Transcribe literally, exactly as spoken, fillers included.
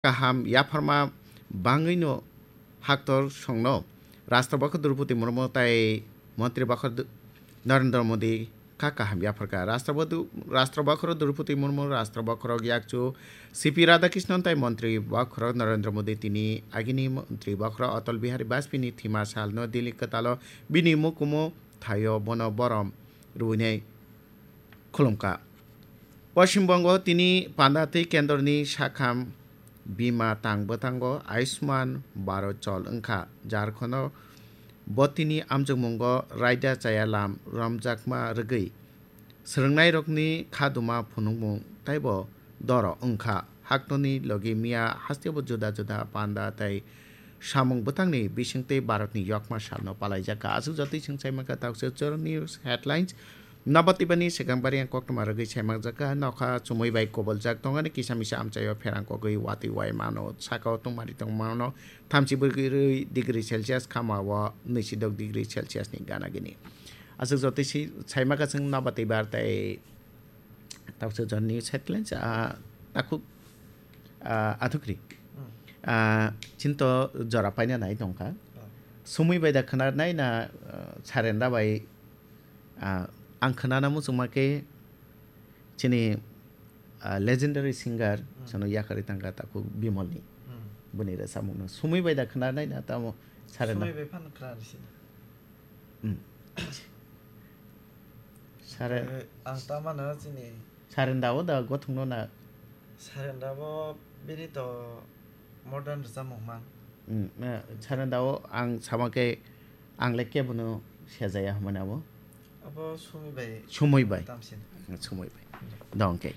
kaham yapharma bangwino haktor songno Rashtra Bokhorok Droupadi Murmu tai Montri Bokhorok Du-, Narendra Modi kha kaham yapharkha. Rashtra Bodu-, Rashtra Bokhorok Droupadi Murmu, Rashtra Bokhorok yakchu C P Radhakrishnan tai Montri Bokhorok Narendra Modi tini agini Montri Bokhorok Atal Bihari Vajpayee ni thima salno Delhi kwtalo bini mukumu thaio bono borom rwinai khulumkha. Poschim Bongo tini panda tei kendroni sakham bima tang bwtango Ayushman Bharat chol wngkha. Jharkhando bo tini amjokmungo raida chaya lam romjakma rwgwi swrwngnairokni khaduma phunukmung taibo doro wngkha. Haktorni logi miya hasteo juda juda panda tei samung bwtangni bisingtwi Bharatni yokma salno palaijakha. Aswk jotoi chwng saimaka Taksir Choro News Headlines. Nabati bani swkang bari ang koktwma rwgwi saimanjakha. Nokha chumui bai koboljak tongani kisa misa amchaio pherang kogwi watwi wai mano. Sakao tongmani tongmano thamchi brwi degree Celsius, khamao nwisidok degree Celsius ni gana gini. Aswk jotoi si saimaka chwng Nabati bar tei Taksir Choro News Headlines, ah, takhuk, ah, athukri. Hmm. Ah, chinto jora paina nai tongkha. Oh. Sumui bai da khwnar nai na, ah, Sarenda bai, ah, ang khwnana muchungma khe chini, ah, legendary singer Hmm. sono yakarwi tangkha takhuk Bimolni. Hmm. Bini rwchapmungno sumui bai da khwnar nai na tamo Sarenda. Sumui bai phano khwnar sina. Hmm. Sare- Eh, ang ta mano chini Sarenda o da gothokno na. Sarenda bo bini to modern rwchapmung man. Hmm, eh, Sarenda o ang sama khe ang le kebono sejaya hwnmani abo. Abo Sumi bai. Sumui bai. Tamsin. Sumui bai. Dong khe.